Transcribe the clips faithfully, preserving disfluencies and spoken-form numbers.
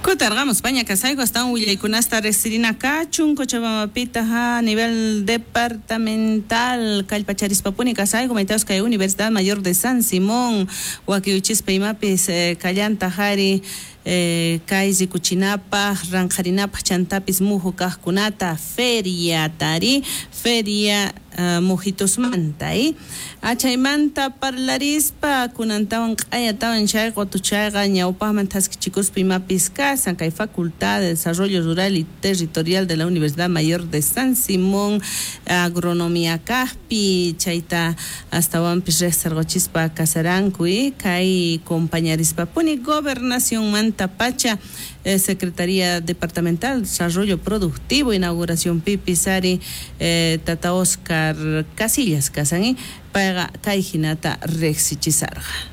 Kutarqamos paña kasayku astawan willaykunasta riqsirina kachun Cochabambapita a nivel departamental kallpacharispapuni kasayku maytawas kay Universidad Mayor de San Simón wakiuchispa imapis eh, kallanta jari eh, kay rikuchinapaj ranqharinapaj chantapis muju kajkunata feria tari feria uh, mujitusmanta eh? Achaymanta parlarispa kunantawan q'ayatawan chay qutuchayqa ñawpaqman thaskichikuspa imapis kasan kay Facultad de Desarrollo Rural y Territorial de la Universidad Mayor de San Simón agronomía kajpi chayta astawanpis riqsirquchispa kasaranku eh? Kay compañarispapuni gobernacionmanta pacha eh, Secretaría Departamental de Desarrollo Productivo inauguración pipisari eh, Tata Oscar Casillas kasan eh? Payqa kay hinata riqsichisarqa.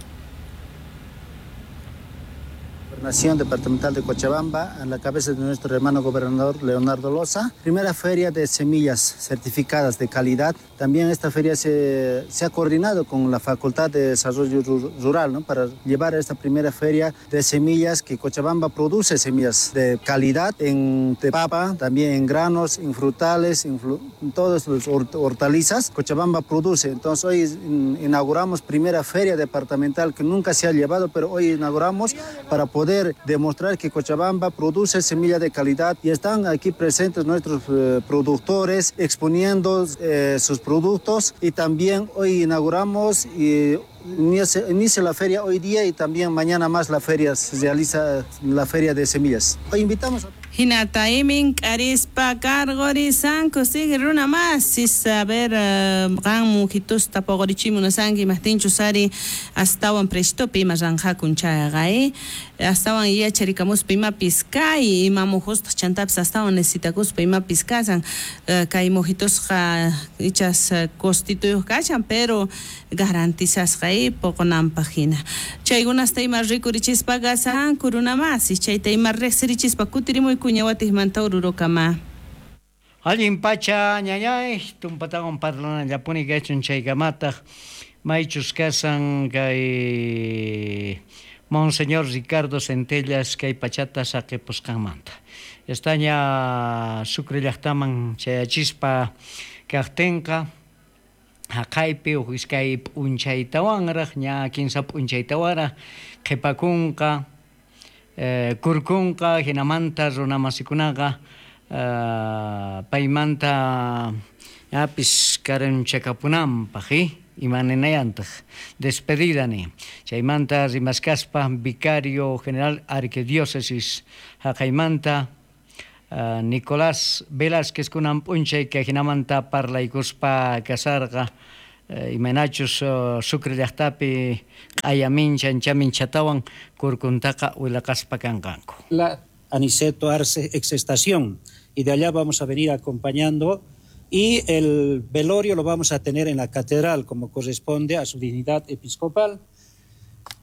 Gobernación Departamental de Cochabamba, a la cabeza de nuestro hermano gobernador Leonardo Loza. Primera feria de semillas certificadas de calidad. También esta feria se, se ha coordinado con la Facultad de Desarrollo Rural, ¿no?, para llevar esta primera feria de semillas, que Cochabamba produce semillas de calidad en de papa, también en granos, en frutales, en, flu, en todas las hortalizas. Cochabamba produce. Entonces hoy inauguramos primera feria departamental que nunca se ha llevado, pero hoy inauguramos para poder demostrar que Cochabamba produce semilla de calidad, y están aquí presentes nuestros eh, productores exponiendo eh, sus productos, y también hoy inauguramos y inicia, inicia la feria hoy día, y también mañana más la feria se realiza, la feria de semillas. Hoy invitamos a Hinata imin k'arispa karqurisanku sigue runa mas saber qan mujitusta puqurichimunasanki imajtinchus ari astawan preshtupi ima ranqakun chayqa eh astawan yacharikamuspa imapis kay ima mujustaq chantapis astawan necesitakuspa imapis kasan kay mujitusqa ichas costituyuq kashan pero garantizasqa eh puqunanpaq hina chaykunasta ima rikurichispa kasanku runa masis chayta ima riqsirichispa kutirimuy kuñawatiqmanta ururukama. Allin pacha ñañay tumpatawan parlanallapuni kachun chaykamataq maychus kasan kay Monseñor Ricardo Centellas kay pachata saqipusqanmanta. Estaña Sucre llaqtaman chayachispa kaqtinqa haqaypi uj iskay p'unchaytawanraq ña kinsa p'unchaytawanraq qhipakunqa Eh, kurkunqa hinamanta runamasikunaqa eh, paymanta apis karanchakapunanpaq eh? Imaninayantaq despedida ni chaymanta rimaskaspa vicario general arquidiócesis haqaymanta uh, Nicolás Velázquez kunan p'unchay kay hinamanta parlaykuspa kasarqa eh, imaynachus uh, Sucre llaqtapi q'ayamincha anchaminchatawan kurkuntaqa wilaqaspa kanqanku. La Aniceto Arce exestación, y de allá vamos a venir acompañando, y el velorio lo vamos a tener en la catedral como corresponde a su dignidad episcopal.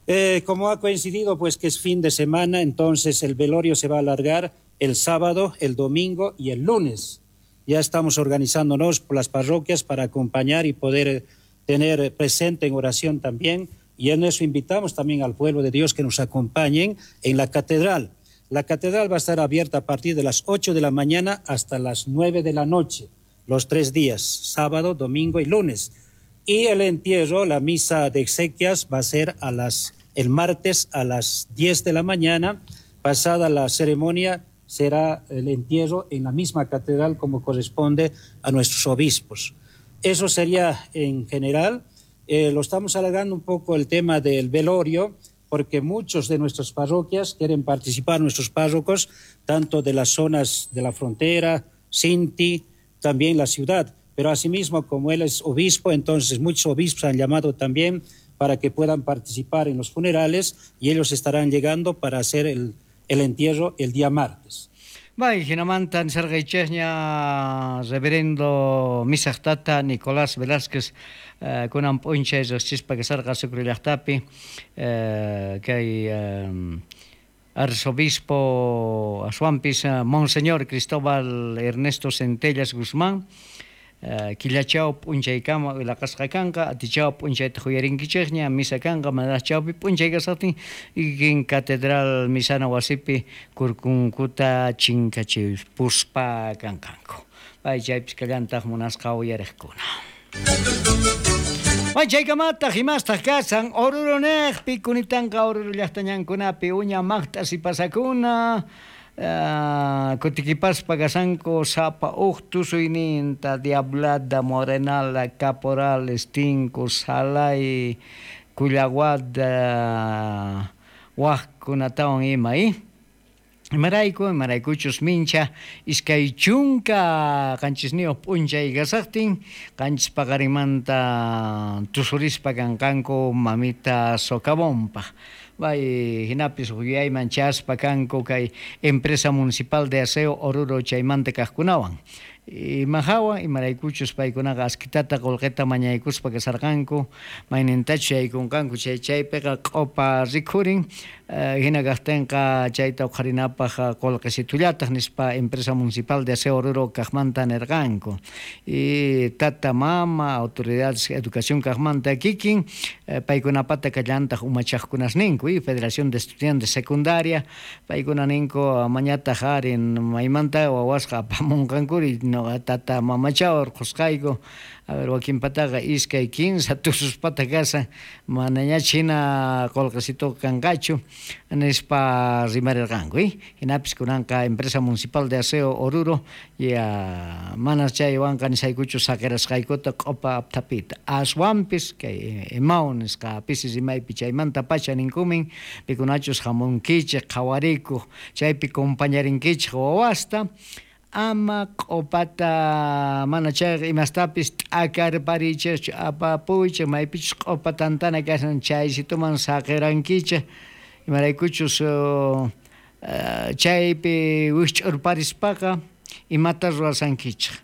Eh, como ha coincidido pues que es fin de semana, entonces el velorio se va a alargar el sábado, el domingo y el lunes. Ya estamos organizándonos por las parroquias para acompañar y poder tener presente en oración también, y en eso invitamos también al pueblo de Dios que nos acompañen en la catedral. La catedral va a estar abierta a partir de las ocho de la mañana hasta las nueve de la noche, los tres días, sábado, domingo y lunes. Y el entierro, la misa de exequias, va a ser a las, el martes a las diez de la mañana. Pasada la ceremonia, será el entierro en la misma catedral como corresponde a nuestros obispos. Eso sería en general. Eh, lo estamos alargando un poco el tema del velorio, porque muchos de nuestras parroquias quieren participar, nuestros párrocos, tanto de las zonas de la frontera, Sinti, también la ciudad. Pero asimismo, como él es obispo, entonces muchos obispos han llamado también para que puedan participar en los funerales, y ellos estarán llegando para hacer el, el entierro el día martes. Bai, jinamantan sargaichesña reverendo misaqtata Nicolás Velázquez eh, kunan p'unchay riqsispa kasarqa Sucre llaqtapi eh, kay eh, arzobispo aswanpis Monseñor Cristóbal Ernesto Centellas Guzmán Killachaw p'unchaykama wilaqasqa kanqa, atichaw p'unchayta huyarinkichikña, misa kanqa, manaraq chawpi p'unchay kasaqtin kikin catedral misana wasipi kurkunkuta chinkachipuspa kanqanku. Pay chaypis kallantaq munasqa uyariqkuna. May chaykamataq imastaq kasan Oruro neqpi kunitanqa Oruro llaqtañankunapi uña maqt'as sipasakuna Uh, kutikipaspa kasanku sapa uj tusuyninta Diablada, Morenala, Caporales, Tinku, Salay, Kullaguada, wajkunatawan ima, eh? Imarayku, imaraykuchus mincha iskay chunka qanchisniyuq p'unchay kasaqtin qanchis paqarimanta tusurispa kanqanku mamita Socavonpaq. Bay hinapis huyayman chaspa kanku kay empresa municipal de aseo Oruro chaymanta kaqkunawan. Imahawan imaraykuchus paykunaqa askitata qullqita mañaykuspa kasarqanku maynintachus yaykunqanku chay chaypiqa q'upa rikhurin hina kaqtinqa chayta uqharinapaq qullqisitullataq nispa empresa municipal de aseo Oruro kaqmanta nirqanku. Y tata mama autoridades educación kaqmanta kikin paykunapata kallantaq umachaqkunasninku y Federación de Estudiantes Secundaria paykuna ninku mañataq ari maymanta wawasqa apamunqankuri no tata mamacha urqusqayku. A ver, wakinpataqa iskay kinsa tususpata kasan manañach hina qullqisituqa kanqachu nispa rimarirqanku. Hinapis kunanqa empresa municipal de aseo Oruro ya manas chaywanqa nisaykuchu saqirasqaykuta q'upa aptapita aswanpis kay EMAU nisqa pisi rimaypi chaymanta pacha ninkumin pikunachus hamunkichik qhawarikuq chaypi compañarinkichik wawasta ama q'upata mana chayqa imastapis t'akarparichikchu apapuychik maypichus q'upa tantana kashan chaysituman saqirankichik imaraykuchus uh, chaypi wikch'urparispaqa imata ruwasankichik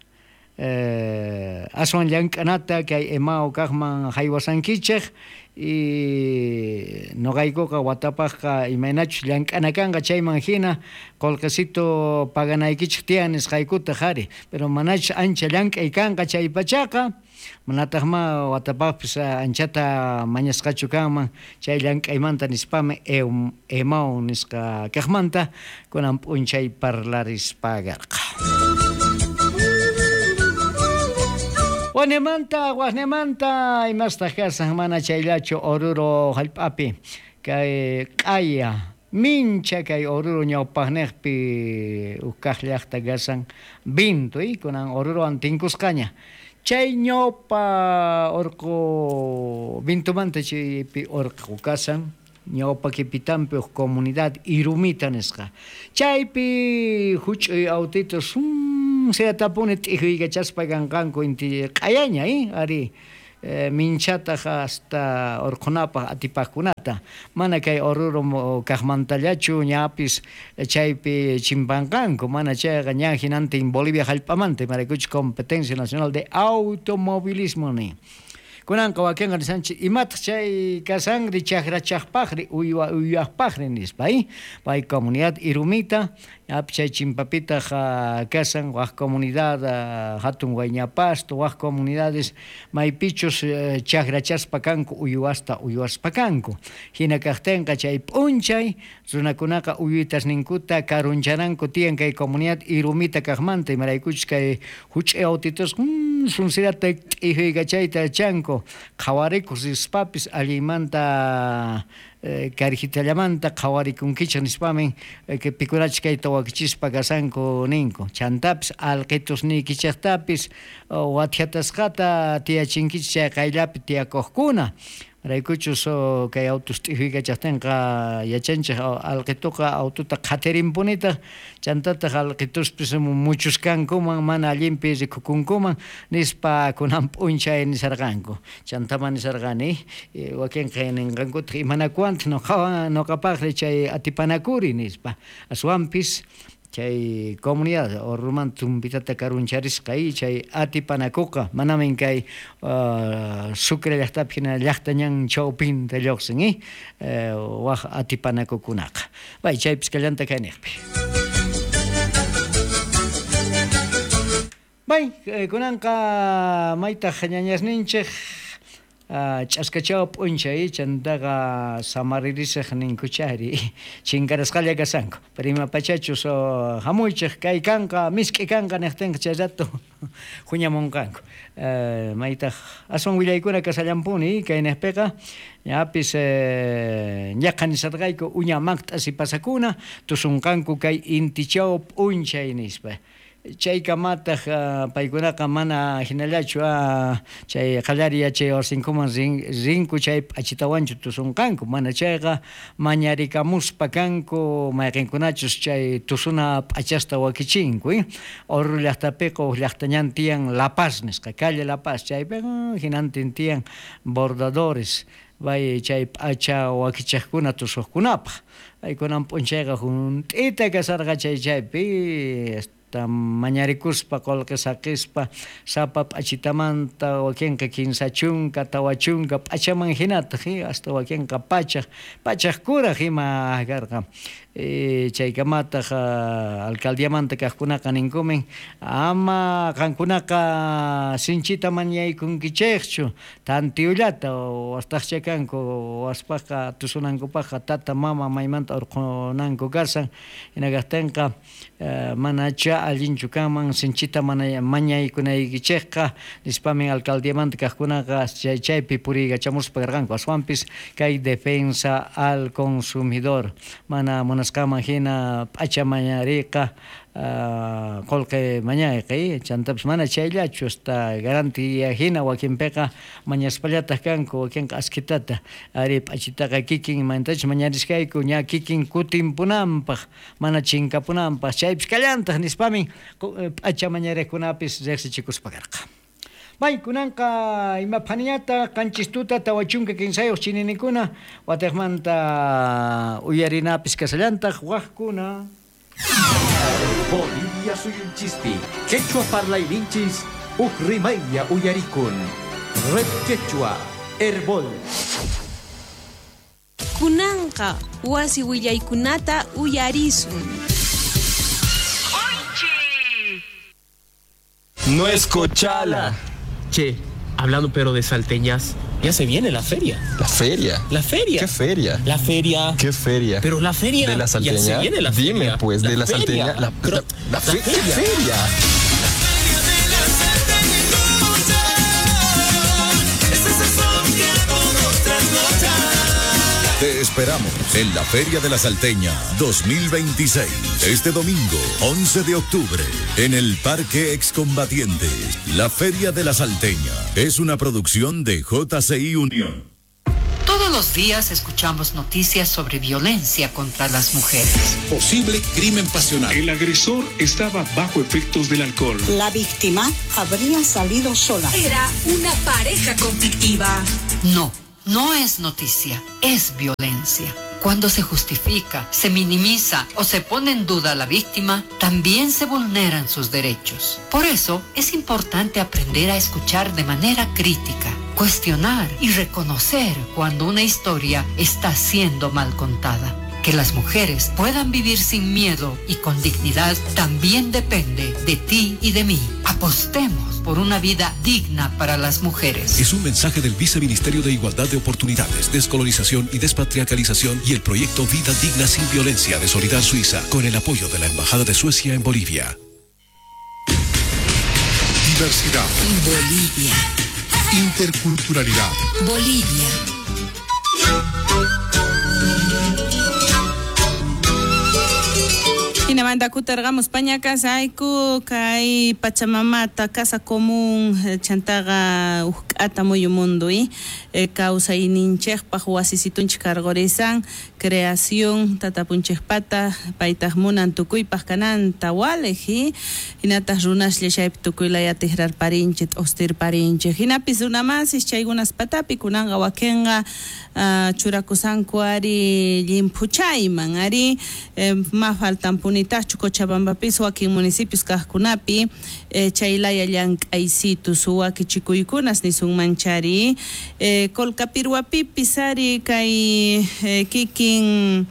eh, aswan llank'anata kay EMAU kaqman haywasankichik y noqaykuqa watapaqqa imaynachus llank'ana kanqa chayman hina qullqisito paganaykichik tiyan nisqaykutaq ari pero manachus ancha llank'ay kanqa chay pachaqa manataq ma watapaqpis anchata mañasqachu kanman chay llank'aymanta nispami EMAU nisqa kaqmanta kunan p'unchay parlarispagarqa. Wanemanta, wasnemanta, imastaq kasan mana chayllachu Oruro hallp'api kay q'aya mincha kay Oruro ñawpaqniqpi uj kaq llaqta kasan Vinto y kunan Orurowan tinkusqaña chay ñawpa urqu Vintomanta chaypi urqu kasan ñawpa kipitanpi uj comunidad Irumita nisqa chaypi huch'uy autitos seatapuni t'ijuykachaspa kanqanku inti q'ayaña eh ari eh, minchataq hasta urqunapaq atipaqkunata mana kay Oruro kaqmantallachu ñapis chaypi chimpanqanku mana chayqa ña hinantin Bolivia hallp'amanta imaraykuchus competencia nacional de automovilismo ni kunanqa wakinqa nisanchik imataq chay kasanri chakrachaqpaqri uywa uywaqpaqri nispa eh pay comunidad Irumita ñapi chay chimpapitaq kasan waq comunidad hatun Guayñapasto waq comunidades maypichus chakrachaspa kanku uywasta uywaspa kanku hina kaqtinqa chay p'unchay runakunaqa uywitasninkuta karunchananku tiyan kay comunidad Irumita kaqmanta imaraykuchus kay huch'ay autitos mm, sunsirata t'ijuykachayta chanku qhawarikuq rispapis allinmanta karijitallamanta qhawarikunkichik nispamin pikunachik kayta wakichispa kasanku ninku chantapis alqitusniykichiktapis wathiatasqata tiyachinkichik chay qayllapi tiyakuqkuna raykuchus kay autos t'ijuykachaqtinqa yachanchik alqituqa autota qhatirinpunitaq chantataq alqituspis muchuskankuman mana allinpi rikukunkuman nispa kunan p'unchay nisarqanku chantaman nisarqani wakinqa ninqankutaq imanakuwantaq nuqawan nuqapaqri chay atipanakuri nispa aswanpis chay comunidad Oruromanta tumpitata karuncharisqa y chay atipanakuqa manamin kay uh, Sucre llaqtapi hina llaqta ñan chawpinta lluqsin eh waq atipanakukunaqa bay chaypis kallanta kayniqpi. Bay, kunanqa maytaq ñañasninchik ch'askachaw p'unchay chantaqa samaririsaq ninkuchari chinkarasqalla kasanku pero ima pachachus hamuychik kay kanqa misk'i kanqa niqtinqa chay rato huñamunqanku maytaq aswan willaykuna kasallampuni kay niqpiqa ñapis ñaqa nisarqayku uña maqt'asi pasakuna tusunqanku kay intichaw p'unchay nispa chaykamataq paykunaqa mana hinallachu chay qallari yachay wasinkuman rinku chay p'achitawanchu tusunqanku mana chayqa mañarikamuspa kanku mayqinkunachus chay tusuna p'achasta wakichinku Oruro llaqtapiqa huk llaqtañan tiyan La Paz nisqa calle La Paz chaypiqa hinantin tiyan bordadores bay chay p'acha wakichaqkuna tusuqkunapaq paykunan p'unchayqa hunt'ita kasarqa chay chaypi mañarikuspa qullqi saqispa sapa p'achitamanta wakinqa kinsa chunka tawa chunka p'achaman hinataq hasta wakinqa pachaq pachaq kuraq ima karqa chaykamataq alcaldiamanta kaqkunaqa ninkumin ama qankunaqa sinchita mañaykunkichikchu tantiyullata wastaqcha kanku waspaqqa tusunankupaqqa tata mama maymanta urqunanku kasan hina kaqtinqa manacha allinchu kanman sinchita mañaykunaykichikqa nispamin alcaldiamanta kaqkunaqa chay chaypi puriykachamuspa karqanku aswanpis kay defensa al consumidor mana munasqaman hina p'acha mañariqa qullqi mañayqi chantapis mana chayllachu hasta garantía hina wakinpiqa mañaspallataq kanku wakinqa askitata ari p'achitaqa kikin imantachu mañarisqayku ña kikin kutinpunanpaq mana chinkapunanpaq chaypis kallantaq nispamin p'acha mañariqkunapis riqsichikuspa karqa. Bay, kunanqa ima phaniñata qanchis tuta tawa chunka kinsayuq chininikuna watiqmanta uyarinapis kasallantaq waqkuna. Bolivia suyunchispi quechua parlayninchis uj rimaylla uyarikun. Red Quechua Herbol. Kunanqa wasi willaykunata uyarisun. No es Cochala. Che, hablando pero de salteñas, ya se viene la feria. ¿La feria? La feria. ¿Qué feria? La feria. ¿Qué feria? Pero la feria. ¿De la salteña? Ya se viene la feria. Dime, pues, de la, la salteña. La, pero, la, la, fe, la feria. ¿Qué feria? Te esperamos en la Feria de la Salteña dos mil veintiséis, este domingo once de octubre, en el Parque Excombatientes. La Feria de la Salteña es una producción de J C I Unión. Todos los días escuchamos noticias sobre violencia contra las mujeres. Posible crimen pasional. El agresor estaba bajo efectos del alcohol. La víctima habría salido sola. Era una pareja conflictiva. No. No es noticia, es violencia. Cuando se justifica, se minimiza o se pone en duda a la víctima, también se vulneran sus derechos. Por eso es importante aprender a escuchar de manera crítica, cuestionar y reconocer cuando una historia está siendo mal contada. Que las mujeres puedan vivir sin miedo y con dignidad también depende de ti y de mí. Apostemos por una vida digna para las mujeres. Es un mensaje del Viceministerio de Igualdad de Oportunidades, Descolonización y Despatriarcalización y el proyecto Vida Digna Sin Violencia de Solidar Suiza, con el apoyo de la Embajada de Suecia en Bolivia. Diversidad. Bolivia. Interculturalidad. Bolivia. Hinamanta kutarqamos pañakas ayku kay Pachamamata casa común chantaqa uqk'ata muyu mundo y kawsayninchikpaq wasisitunchik karqurisan creación tatapunchikpata paytaq munan tukuypaq kananta waliq hinataq runaslla chaypi tukuylaya tikrarparinchik t'ustirparinchik hinapis runamasis chaykunas patapi kunanqa wakinqa churakusanku ari llimphuchayman ari ma faltanpuni Tachu Cochabambapis wakin municipios kaqkunapi eh, chaylaya llank'aysitus wakichikuykunas nisunmanchari eh, Colcapirhuapipis ari kay eh, kikin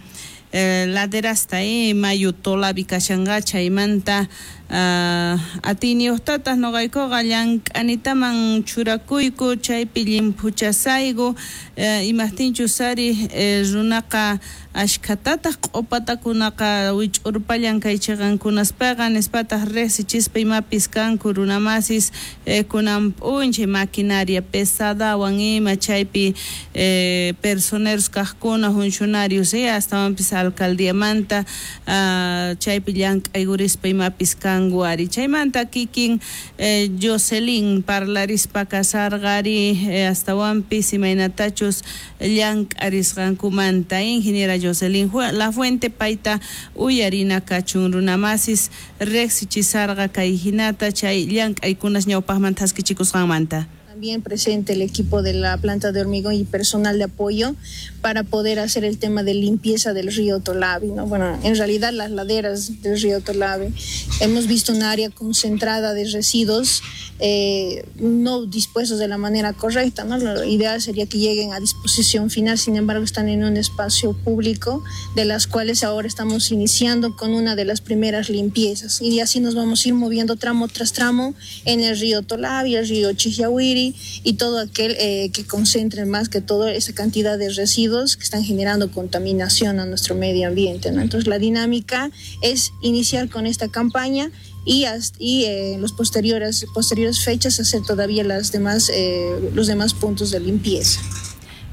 eh, laderasta eh, mayu tolapi kashanqa chaymanta Uh, atiyniyuqtataq noqaykuqa llank'anitaman churakuyku chaypi llimphuchasayku uh, imaqtinchus ari uh, runaqa ashkhatataq q'upatakunaqa wich'urpallan kay chiqankunaspaqa nispataq riqsichispa imapis kanku runamasis eh, kunan p'unchay maquinaria pesadawan ima chaypi eh, personeros kaqkuna funcionarios eh, astawanpis alcaldiamanta uh, chaypi llank'aykurispa imapis kanku ari chaymanta kikin eh, Jocelyn parlarispa kasarqari eh, astawanpis imaynatachus llank'arisqankumanta ingeniera Jocelyn Lafuente payta uyarina kachun runamasis riqsichisarqa kay hinata chay llank'aykunas ñawpaqman thaskichikusqanmanta. También presente el equipo de la planta de hormigón y personal de apoyo para poder hacer el tema de limpieza del río Tolavi, ¿no? Bueno, en realidad las laderas del río Tolavi. Hemos visto un área concentrada de residuos eh, no dispuestos de la manera correcta, ¿no? Lo ideal sería que lleguen a disposición final, sin embargo están en un espacio público, de las cuales ahora estamos iniciando con una de las primeras limpiezas. Y así nos vamos a ir moviendo tramo tras tramo en el río Tolavi, el río Chijiahuiri, y todo aquel eh, que concentre más que todo esa cantidad de residuos que están generando contaminación a nuestro medio ambiente, ¿no? Entonces la dinámica es iniciar con esta campaña y, hasta, y eh, los posteriores, posteriores fechas hacer todavía las demás, eh, los demás puntos de limpieza.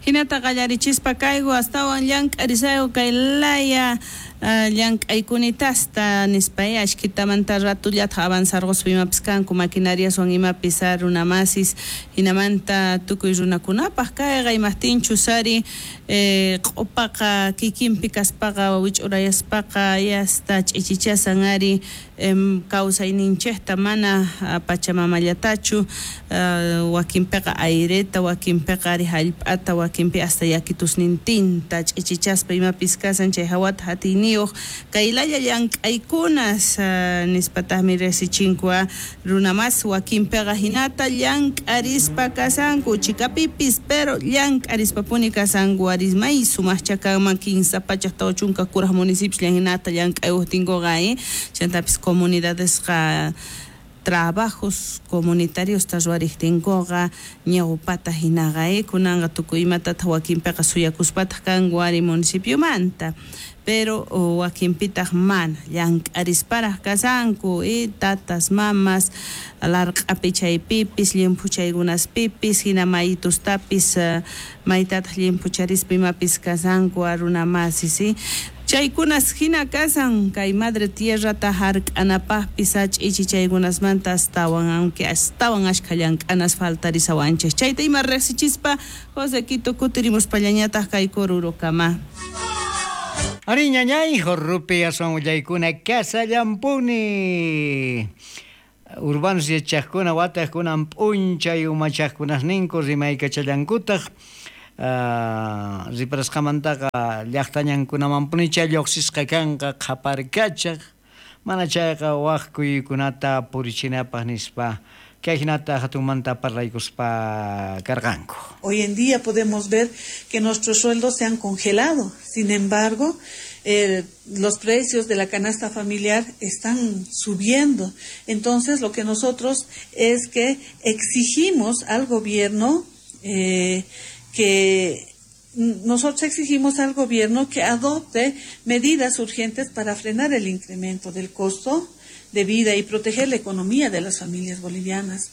Hinata qallarichispa kayku astawan llank'arisayku kay laya llank'aykunitasta nispa ashkitamanta ratullata avanzarquspa imapis kanku maquinariaswan imapis runamasis hinamanta tukuy runakunapaq kayqa imaqtinchus ari eh, q'upaqa kikinpi kaspaqa wich'urayaspaqa yasta ch'ichichasan ari em, kawsayninchikta mana pachamamallatachu uh, wakinpiqa aireta wakinpiqa ari hallp'ata wakinpi hasta yakitusnintinta ch'ichichaspa imapis kasan chay hawata hatiyni kaylalla llank'aykunas uh, nispataqmi riqsichinku runamas wakinpiqa hinata llank'arispa kasanku chikapipis pero llank'arispapuni kasanku aris may sumaqcha kanman kinsa pachaq tawa chunka kuraq municipios hinata llank'ayuqtinkuqa eh chantapis comunidadesqa trabajos comunitarios ruwariqtinkuqa ñawpata hinaqa eh kunanqa tukuy imatataq wakinpiqa suyakuspataq kanku ari municipiomanta pero wakinpitaq mana llank'arisparaq kasanku eh, tatas mamas larq'api chaypipis llimphuchaykunaspipis hina maytustapis uh, maytataq llimphucharispa imapis kasanku runamasis eh? Chaykunas hina kasan kay madre tierrata hark'anapaqpis ch'ichichaykunasmanta astawan aunque astawan ashkha llank'anas faltarisawanchik chayta ima riqsichispa José Quito kutirimuspallañataq kay Corurokama. Ari ñañay jorrupi aswan willaykuna kasallampuni urbanos yachaqkuna wataqkunan p'unchay umachaqkunasninku rimaykachallankutaq Uh, riparasqamantaqa llaqtañankunamanpunicha lluqsisqa kanqa qhaparkachaq mana chayqa waq kuykunata purichinapaq nispa kay hinata hatunmanta parlaykuspa karqanku. Hoy en día podemos ver que nuestros sueldos se han congelado, sin embargo, eh, los precios de la canasta familiar están subiendo. Entonces, lo que nosotros es que exigimos al gobierno eh, que nosotros exigimos al gobierno que adopte medidas urgentes para frenar el incremento del costo de vida y proteger la economía de las familias bolivianas.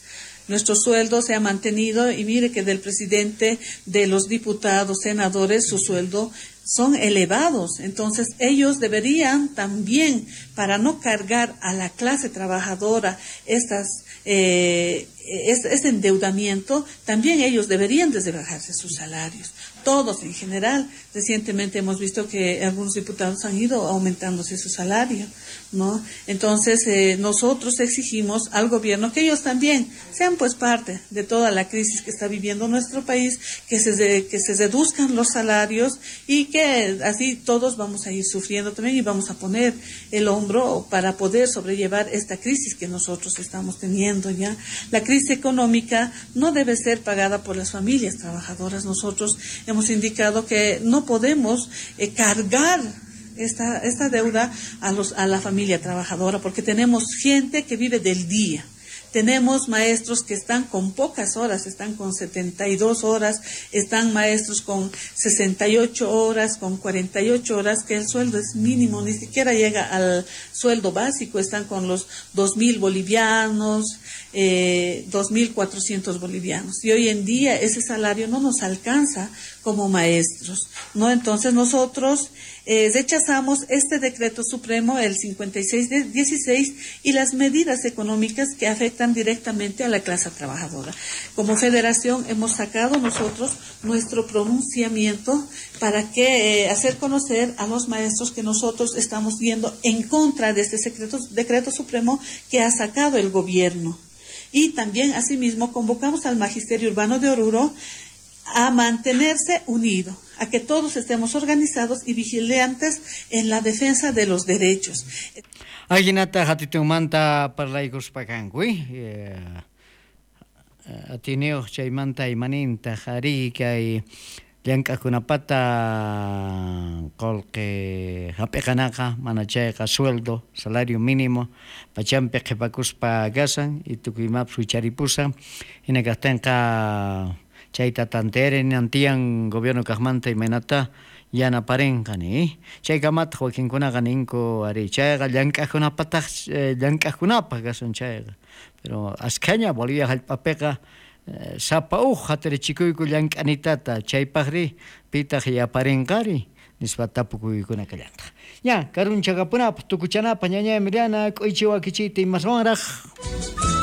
Nuestro sueldo se ha mantenido y mire que del presidente, de los diputados, senadores, su sueldo son elevados. Entonces ellos deberían también, para no cargar a la clase trabajadora estas eh, este endeudamiento, también ellos deberían de bajarse sus salarios, todos en general. Recientemente hemos visto que algunos diputados han ido aumentándose su salario, ¿no? Entonces eh, nosotros exigimos al gobierno que ellos también sean pues parte de toda la crisis que está viviendo nuestro país, que se, que se reduzcan los salarios y que así todos vamos a ir sufriendo también y vamos a poner el hombro para poder sobrellevar esta crisis que nosotros estamos teniendo ya. La crisis económica no debe ser pagada por las familias trabajadoras. Nosotros hemos indicado que no podemos eh, cargar esta, esta deuda a, los, a la familia trabajadora, porque tenemos gente que vive del día. Tenemos maestros que están con pocas horas, están con setenta y dos horas, están maestros con sesenta y ocho horas, con cuarenta y ocho horas, que el sueldo es mínimo, ni siquiera llega al sueldo básico, están con los dos mil bolivianos, eh, dos mil cuatrocientos bolivianos. Y hoy en día ese salario no nos alcanza como maestros, ¿no? Entonces nosotros eh, rechazamos este decreto supremo, el cincuenta y seis de dieciséis, y las medidas económicas que afectan directamente a la clase trabajadora. Como federación hemos sacado nosotros nuestro pronunciamiento para que eh, hacer conocer a los maestros que nosotros estamos yendo en contra de este secreto, decreto supremo que ha sacado el gobierno. Y también, asimismo, convocamos al Magisterio Urbano de Oruro a mantenerse unido, a que todos estemos organizados y vigilantes en la defensa de los derechos. Ajinata hatitunmanta parlaykuspa kanku, eh, atiniyuq chaymanta imaninta ari kay llank'aqkunapata qullqi hap'iqanaqa mana chayqa sueldo, salario mínimo pachampi qhipakuspa kasan y tukuy imapas wicharipusan hina kaqtinqa chayta tantearen antiyan gobierno kaqmanta imaynata yanaparinqa ni chaykamataq wakinkunaqa ninku ari chayqa llank'aqkunapataq llank'aqkunapaq kasan chayqa pero askhaña Bolivia hallp'apiqa sapa uj hatarichikuyku llank'anitata chaypaqri pitaq yaparinqari nispa tapukuykuna kallantaq. Ña karunchakapunapaq tukuchanapaq ñaña Emiliana k'uychi wakichiyta imaswanraq.